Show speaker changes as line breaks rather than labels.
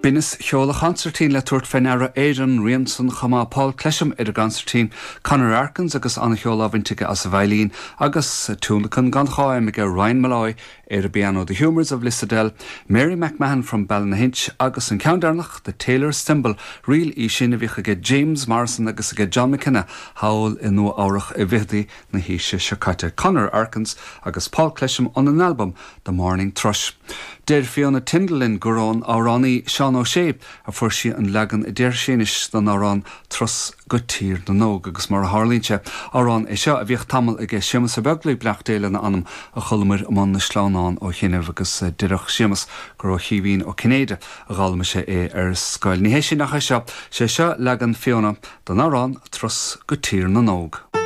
Binneas cheoil an chonsairtín le tabhairt fé ndeara ar an rian san chomh maith, Paul Clesham ar an gconsairtín, Conor Arkins agus an-cheol á bhaint aige as an veidhlín agus tionlacan gan cháim aige Ryan Molloy ar an bpianó, The Humours of Lissadell, Mary McMahon from Ballynahinch agus an ceann deireanach, The Tailor's Thimble, ríl í sin a bhíodh aige James Morrison agus aige John McKenna thall i Nua Eabhrach i bhfichidí na haoise seo caite, Conor Arkins agus Paul Clesham óna n-albam The Morning Thrush. Deir Fiona Tindall linn gur ón amhránaí Seán Ó Sé a fuair sí an leagan a déarfaidh sí anois den amhrán Turas go Tír na nÓg agus mar a tharlaíonn sé, amhrán é seo a bhíodh tamall aige Séamus Ó Beaglaoich, beannacht Dé lena anam, a chualamar i mbun na sleamhnán ó chianaibh agus déarfadh Séamus gur ó Chaoimhín Ó Cinnéide a d'fhoghlaim sé é ar scoil. Ní hé sin ach é seo, sé seo leagan Fiona den amhrán Turas go Tír na nÓg.